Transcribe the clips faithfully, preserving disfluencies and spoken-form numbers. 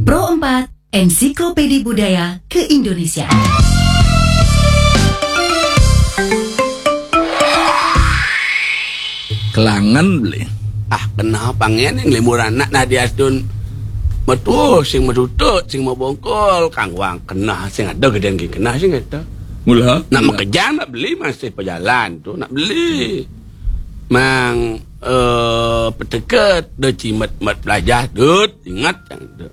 Pro empat, Ensiklopedi Budaya Keindonesiaan. Kelangan beli. Ah, keneh pangen yang limur anak nah diastun. Metuh, sing metutut, sing mebongkol, kangwang keneh sing ada gedeng ki keneh sing ada. Mula. Nak mula. Mekejang nak beli masih pejalan tu, nak beli. Mang, eh, peteket, do cimet mat belajah, dut, ingat yang tu.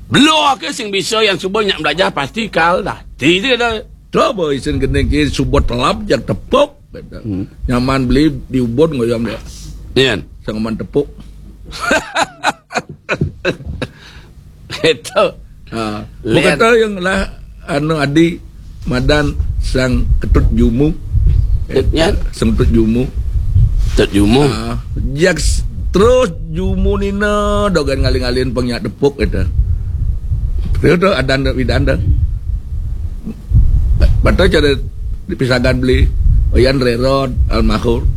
Belum ke sing bisa yang subuh nyak belajah pasti kal dah. Ti dia dah. Coba isin gending ki subuh telap jak tepuk. Kata. Hmm. Nyaman beli di ubun ngoyong dia. Nian. Sangaman tepuk. Itu. Ha. Lian. Bukan tahu yang lah anu adi madan sang ketut jumu. Nian. Sang ketut jumu. Ketut jumu. Ha. Jak s- terus jumu nina dogan ngalih-ngalihin penyak tepuk itu. Itu adan widan dah. Bata cara dipisagan beli Oyan Rerod almarhum.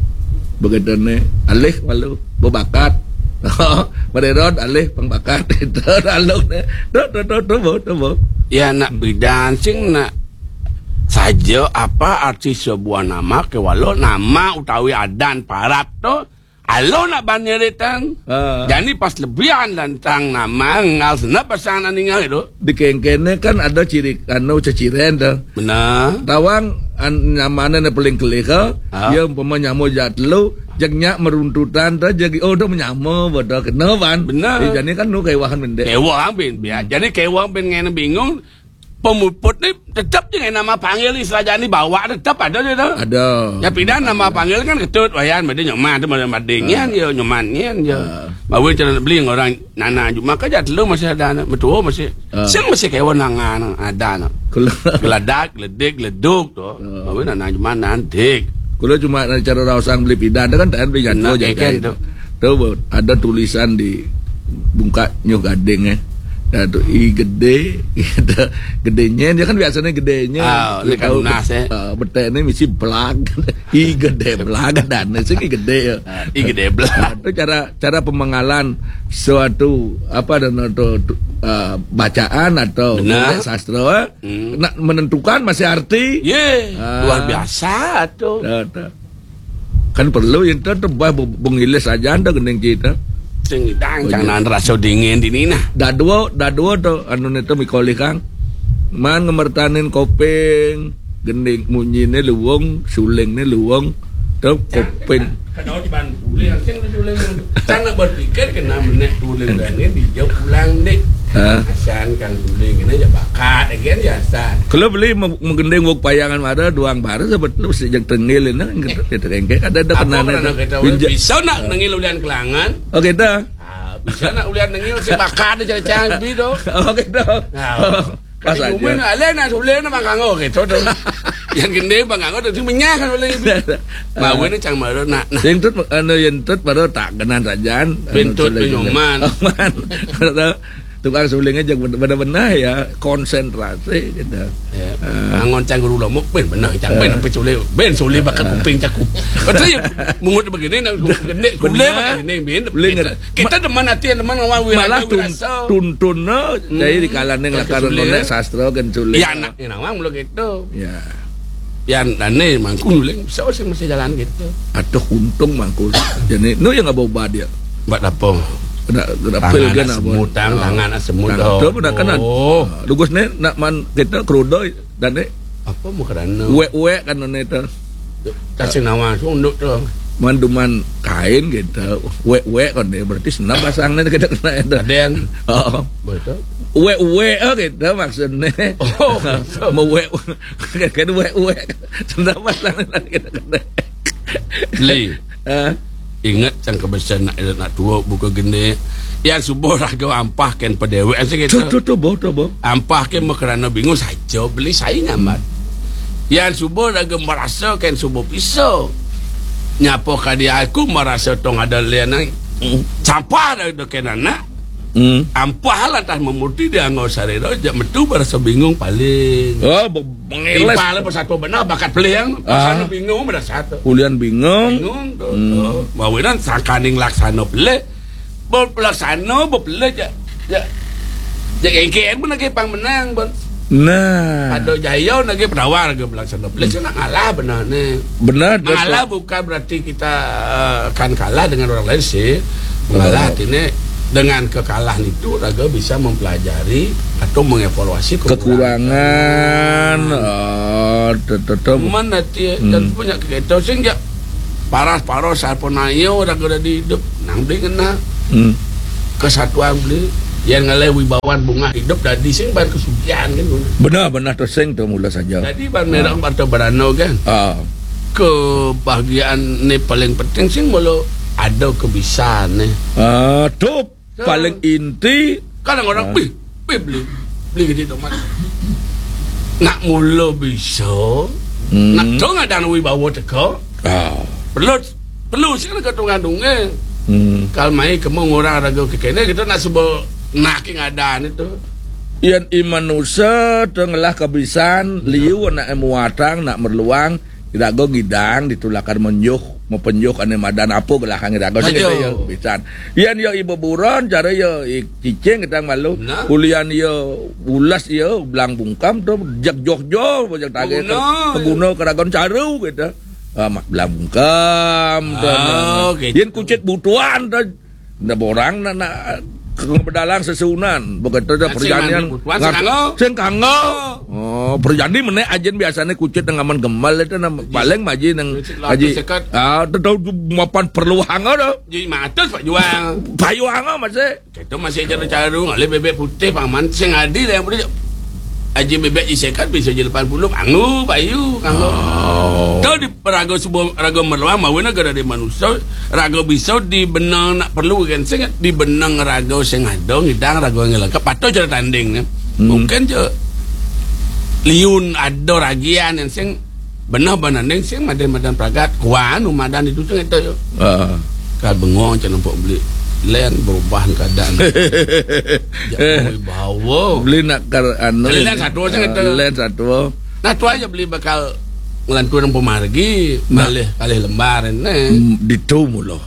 Begitu ni alih malu berbakat. Mererod alih pengbakat itu alung ni. Tu tu tu tu bu tu bu. Ya nak bidan sing nak saja apa arti sebuah nama ke walau nama utawi adan parat tu. Alo nak ban nyeritan. Ha. Jani pas lebihan lantang nama ngal senap pasang anak ningal itu. Di kengkene kan ada ciri anu ceciren tu. Benar. Tawang an, nyamane ne paling kelih ke. Ha. Dia umpama nyamo jatlu, jeg nyak meruntutan tu, jeg oh tu menyamo bodoh kena ban. Benar. Eh, jani kan nu kewahan mendek. Kewang bin biar. Jadi kewang bin ngene bingung. Pemuput ni tetap je nama panggil ni saja ni bawa tetap ada je tu. Ada. Ya pindah nama panggil kan ketut wayan made nyoman tu made madingan je nyoman ngan je. Ah. Bawa cara beli orang nana cuma kerja telu masih ada anak betul masih. Ah. Sing masih kawan nangan ada anak. Kula. Geladak, geledik, geleduk tu. Ah. Bawa nana cuma nantik. Kula cuma nak cara rausang beli pindah tu kan tak beli jatuh je kan tu. Tu ada tulisan di bungkak nyuh gading eh. Dah tu i gede, gede nyen dia kan biasanya gede nyen. Ah, ni kan tahu lunas, eh. Ah, betek ni mesti belag. I gede belag dan ni sini gede ya. Ah, i gede belag. Ah, tu cara cara pemengalan suatu apa dan tu, tu, ah, bacaan atau sastra eh. Hmm. Nak menentukan masih arti. Ye, ah. Luar biasa tu. Dah, dah. Kan perlu yang tu tu bah bengilis aja anda gending kita. Sing idang jangan rasa dingin di ni nah. Dadua, dadua tu anu ni tu mikolih kang. Man ngemertanin koping, gending munyi ni luwung, suling ni luwung, tu koping. Kadau di bantu le sing tu le. Sana berpikir kena menek tuling dan ni dijauh pulang dek. Ha. Asan kan tuling kena je bakat again ya asan. Kalau beli menggending wok payangan mara duang bara sebetulnya sejak tengil ini kan kita kita kengke ada ada kena ada. Bisa nak nengil ulian kelangan? Oh kita. Ah, bisa nak ulian nengil si bakat ada cari-cari bi tu. Oh kita. Nah. Pas aja. Cuma nak lain nak sulit nak bangkango gitu tu. Yang gende bangkango tu menyah kan boleh. Mawe ni cang baru nak nah. Yang tut anu yang tut baru tak kenal saja. Bentut penyoman. Tukang sulingnya jangan benar-benar ya konsentrasi gitu. Ya. Ah. Angon cang guru lomok ben benar cang ben apa sulit ben sulit bakat kuping cakup. Betul ya. Mungut begini nak gede gule begini ben. Kita demen hati demen ngawal malah tuntun no. Jadi di kalangan lakar ngonek sastra kan sulit. Ya anak ni nawang belum gitu. Ya. Ya ane mangkung uling bisa sih masih jalan gitu. Atau untung mangkung. Jadi nu yang ngabau dia. Buat apa? Kena kena pil kan apa? Semut tang tangan semut. Tangan tu pun nak kena. Oh. Lugus ni nak man kita kerudoi dan ni. Apa mau kerana? Uek-uek kan ni tu. Kasih nawang sunduk tu. Manduman kain gitu. Uek-uek kan ni berarti senam pasang ni kita kena itu. Ada yang. Oh. Betul. Uek-uek oh gitu maksudnya. Oh. Mau uek kan uek-uek. Senam pasang ni kita kena. Beli. Ha? Ingat sang kebesan nak nak tua buka gende. Yang subuh raga ampah kan pedewek sih gitu. Tu tu tu boh tu boh. Ampah kan makarana bingung saja beli saya nyaman. Yang subuh raga merasa kan subuh pisau. Nyapa kadi aku merasa tong ada lian ai. Sampah dah dah kan anak. Hmm. Ampah lantas memuti dia ngau sarira jak metu berasa bingung paling. Oh, be- mengeles. Impal persatu benar bakat pelih yang pasal bingung pada satu. Ulian bingung. Bingung tu. Hmm. Bawinan sangkaning laksana pelih. Pelaksana bepelih jak, jak, jak kengkeng pun lagi pang menang pun. Nah. Ada jaya lagi penawar ke pelaksana. Pelih nak ngalah benar ni. Benar, benar. Mengalah bukan berarti kita, eh, akan kalah dengan orang lain sih. Mengalah artinya dengan kekalahan itu raga bisa mempelajari atau mengevaluasi kekurangan. Kekurangan. Oh, tetetem. Mana ti dan punya kita sehingga paras-paros apa nayo raga dah di hidup nang beli kena kesatuan beli yang ngalai wibawan bunga hidup dadi sing ban kesugihan kan. Benar, benar tu sing tu mula saja. Jadi ban merah atau berano kan. Ah. Kebahagiaan ni paling penting sing mula ada kebisan ni. Ah, tu paling inti. Kadang orang, "Wih, wih, beli, beli gitu tu, Mat." Nak mula bisa, nak tu ngadang wibawa teka. Ah. Perlu, perlu sih nak ketungan dungeng. Hmm. Kal mai kemu ngurang raga kekene kita nak sebut nak ngadan itu. Yan imanusa tu ngelah kebisan, liu nak muatang, nak merluang, tidak go ngidang ditulakan menjuh, mepenjuh ane madan apa gelahang tidak go sing ya. Bisan. Yan ya ibu buron, cara ya i-, cicing kita malu. Nah. Ulian ya ulas ya belang bungkam tu, jak joh joh, jak tagai. Peguna. Peguna keragon caru kita. Ah, mak belang bungkam tu. Oh, gitu. Yan kucit butuan tu. Nda borang nak, nak ke bedalang sesuunan. Begitu dah nak perjanjian. Sing mandi butuan, ngar-, sing kanggo. Sing kanggo. Oh. Oh, perjanjian mana ajin biasanya kucit dengan aman gemal itu nama paling maji nang kucit latus aji sekat. Ah, tu tahu tu mapan perlu hanga dah. Jadi matus pak juang. Payu hanga masih. Kita masih cara-cara ngalih bebek putih paman sing adi lah yang boleh. Aji bebek ji sekat bisa ji lapan puluh kanggo payu kanggo. Oh. Tahu di raga sebuah raga merluang mauna gara di manusia, raga bisa di benang nak perlu kan sing di benang raga sing ada ngidang raga yang lengkap patut cara tanding ni. Hmm. Mungkin je liun ada ragian yang sing benang benanding sing madan-madan pragat kuan umadan itu sing itu yo. Ah. Kal bengong cak nampak beli len berubah keadaan. Jangan bawa. Beli nak kar anu. Len satu sing itu. Len satu. Nah, tu aja beli bakal ngelantur nang pemargi, nah. Malih kalih lembar ni. Hmm, ditu mula.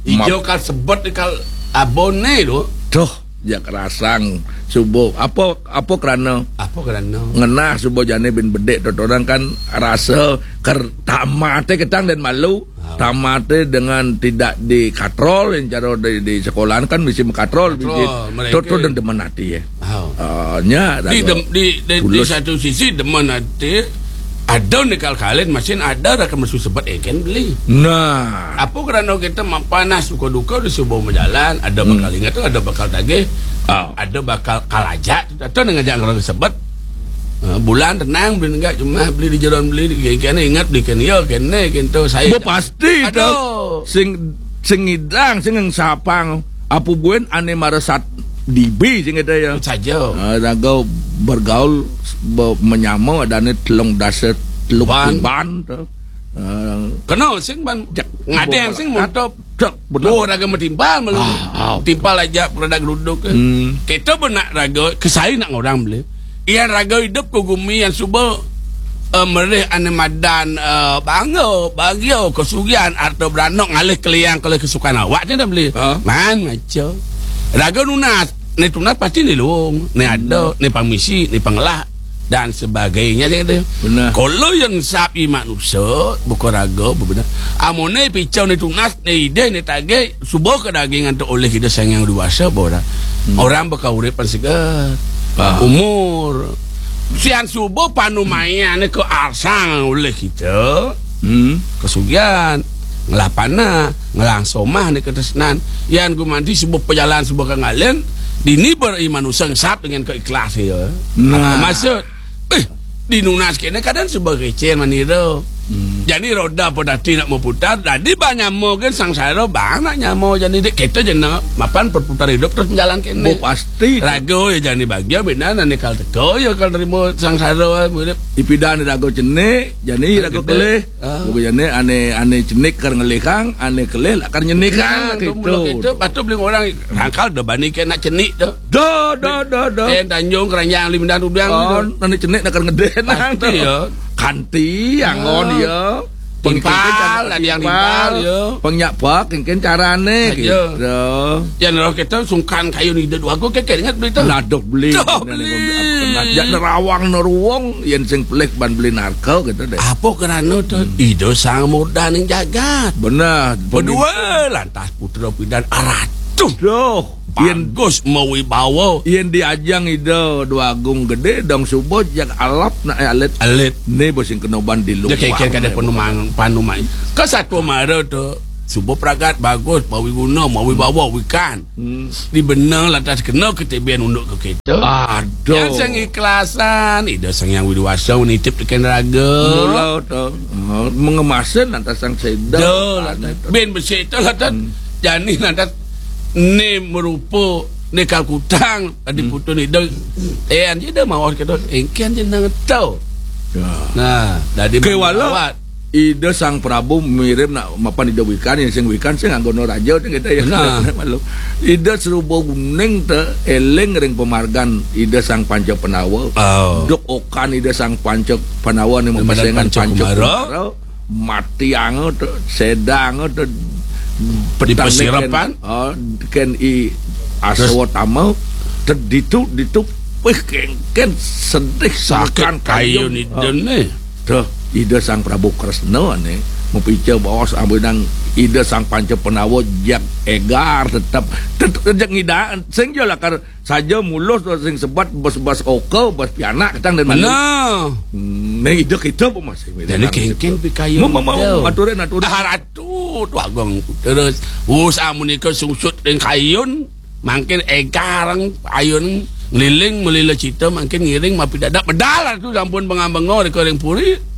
Ijo map- kal sebut kal abon ni tu. Tuh, jak rasang subuh. Apa, apa kerana? Apa kerana? Ngenah subuh jani bin bedik tu orang kan rasa ker tamate ketang dan malu. Tamate dengan tidak dikatrol yang cara di, di sekolahan kan mesti mekatrol. Katrol, biji mereka. Tuh, tuh dan demen hati ya. Ah, nya di, di, di, di satu sisi demen hati ada ni kal kalin masih ada rakan mesu sebut egen beli. Nah. Apa kerana kita ma-, panas suka duka di sebuah majalan, ada bakal ingat tu, ada bakal tagih, ada bakal kalajak tu, atau dengan jangan orang sebut. Ah, bulan tenang beli enggak cuma beli di jalan beli di kene ingat beli kene ya kene kento saya. Bo pasti tu. Aduh. Sing, sing ngidang, sing sapang. Apa buen ane marasat dibi sing kata ya. Saja. Ah, raga bergaul be-, menyama ada ane telung dasa telung ban tu. Ah. Kena sing ban. Ngadeng sing mantap. Dak benar. Oh, raga metimpal malu. Ah, ah. Timpal aja produk geruduk. Hmm. Kita benak raga kesai nak orang beli. Ian raga hidup ke gumi yang suba, eh, merih ane madan, eh, bangga, bahagia, kesugihan, harta beranak ngalih keliang kalih kesukaan awak je dah beli. Ha? Man maca. Raga nunas, ni tunas pasti ni luung, ni ada, ni pamisi, ni pangelah dan sebagainya je kata. Benar. Kalau yang sapi manusia, bukan raga, benar. Amone picau ni tunas, ni ide, ni tagih, suba ke daging antuk oleh kita sayang dewasa orang. Hmm. Orang baka urip pan segar. Ah. Umur. Sian suba panumayan ke arsang oleh kita. Hmm. Kesugihan. Ngelah panak, ngelah somah ni ketresnan. Yan gumanti suba pejalan suba ke ngalen. Dini beri manusia ngesap dengan keikhlas ya. Nah. Apa maksud? Eh, di nunas kene kadang suba kecil manira. Hmm. Jadi roda pun dati nak memutar, jadi banyak mo kan sangsara bang nak nyamo jadi dek kita je nak mapan perputar hidup terus jalan kene. Bo pasti. Raga ya jadi bahagia bina nanti kal teko ya kal terima sangsara urip. Ipidan raga cenik, jadi raga kelih. Ah. Bukan jadi ane, ane cenik kar ngelih kang, ane kelih lah kar nyenik kang, gitu. Patut beli orang rangkal dah bani kena cenik dah. Dah, dah, dah, dah. Ten Tanjung, Keranjang, Limdan, Udang. Oh, nanti cenik nak kena ngeden. Pasti ya. Kanti, angon ya. Timpal, ada yang timpal, ya. Pang nyak bek, kéngkén carané, gitu. Yén roh kita sungkan kayun Ida Déwagung, kéngkén inget beli to. Nah, duh beli. Duh, beli. Nah, jak nerawang neruwung, yén sing pelih ban beli narga, gitu deh. Apa krana to? Ida Sang Murdaning Jagat. Bener. Berdua lantas putra pidan aratuh. Duh. Yén bagus mawibawa. Yén diajang Ida Déwagung Gedé, dong suba jak alap nak alit. Alit. Né bos sing kena ban di luar. Kéngkén kadén panumang, panumang. Ka satua mara to suba pragat bagus, mawiguna, mawibawa, wikan. Di benang lantas kena ketibén unduk ka kita. Aduh. Yang sing ikhlasan, Ida Sang Hyang Widi Wasa nitip tekén raga. Mula to. Mengemasin lantas sang seda. Duh, lantas. Bén besik to lantas. Jani lantas né merupa né kalkutang tadi putu né Ida. Eh, anja Ida maos kita, éngkén jeneng to. Ya. Nah, dadi kéwala mawat. Ida Sang Prabu mirim nak mapan Ida Wikan, yang sing Wikan sing anggona raja to kita ya. Nah. Maklum. Ida Seruba Kuning to éling ring pamargan Ida Sang Panca Pandawa. Oh. Duk okan Ida Sang Panca Pandawa né mapesengan Panca Kumara. Matianga to, sedanga to, petang pasirepan. Oh, kén I Aswatama, to ditu, ditu, wih, kéngkén sedih sakit sungkan kayun. Kayun Ida né. Duh, Ida Sang Prabu Kresna né, mapica baos ambenang Ida Sang Panca Pandawa jak égar tetep, tetep jak ngidang, sing ja lakar saja mulus to sing sebat bas-bas oka, bas pianak katang dan malu. Nah. Hmm, nah, Ida kita apa masih? Jadi kéngkén pikayun. Mau, mau, mau, aturin, aturin. Ah, Ratu, Déwagung. Terus, wus amunika sungsut ring kayun, mangkin égarang ayun ngliling malila cita, mangkin ngiring mapidadak medal Ratu sampun benga-benga ring puri.